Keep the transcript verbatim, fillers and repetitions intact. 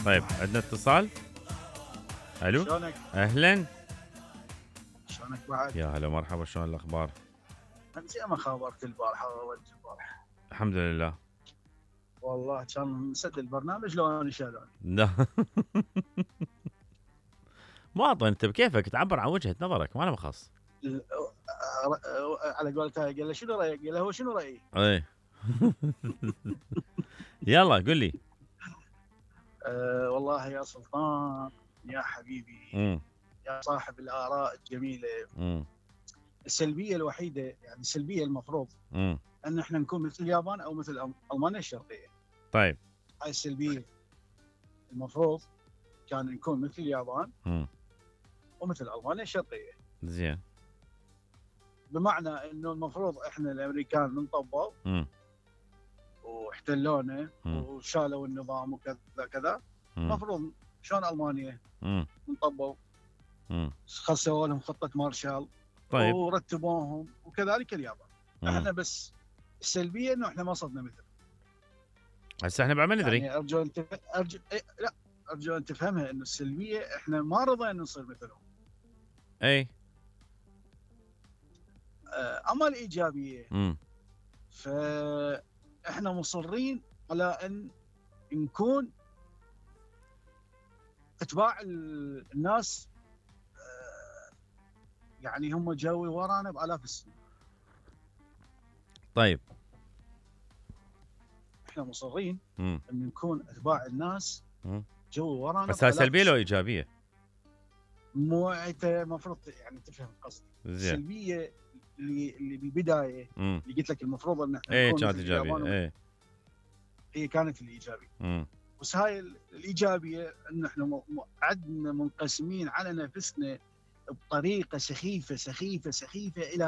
طيب عندنا اتصال. الو. شلونك؟ اهلا. شلونك بعد؟ يا هلا مرحبا، شلون الاخبار؟ زي ما خابرت البارحة وولدت البارحة. الحمد لله. والله كان مسد البرنامج لو انا شالوني. لا مواطن انت بكيفك تعبر عن وجهة نظرك، ما له مخص. ال- على قولتها قال له شنو رايك؟ قال له هو شنو رايي؟ ايه يلا قل لي. أه والله يا سلطان يا حبيبي امم يا صاحب الاراء الجميله، امم السلبيه الوحيده يعني السلبيه المفروض امم ان احنا نكون مثل اليابان او مثل أم- المانيا الشرقيه. طيب. هاي السلبيه المفروض كان نكون مثل اليابان امم ومثل المانيا الشرقيه، زين. بمعنى انه المفروض احنا الامريكان ننطبوا امم واحتلونا مم. وشالوا النظام وكذا كذا. امم المفروض شلون المانيا امم انطبوا، امم خسوا لهم خطه مارشال طيب. ورتبوهم، وكذلك اليابان. مم. احنا بس السلبيه انه احنا ما صرنا مثل. هسه احنا بعد ما ندري. يعني ارجو ان تف... ارجو إيه لا ارجو ان تفهمها انه السلبيه احنا ما رضينا نصير مثلهم. اي. آه، اما الايجابيه امم فاحنا مصرين على ان نكون اتباع ال- الناس. آه، يعني هم جاوي ورانا بالاف السنين، طيب. احنا مصرين امم ان نكون اتباع الناس مم. جوي ورانا بس هاي بآلاف سلبية لو السنين. ايجابية؟ مو انت المفروض يعني تفهم قصدي. زين. السلبيه اللي اللي بالبدايه امم اللي قلت لك المفروض ان احنا ايه نكون كانت مثل اليابان ايجابية. ومثل- ايه. هي كانت الايجابيه. امم بس هاي ال- الايجابيه ان احنا م- م- عدنا منقسمين على نفسنا بطريقه سخيفه سخيفه سخيفه الى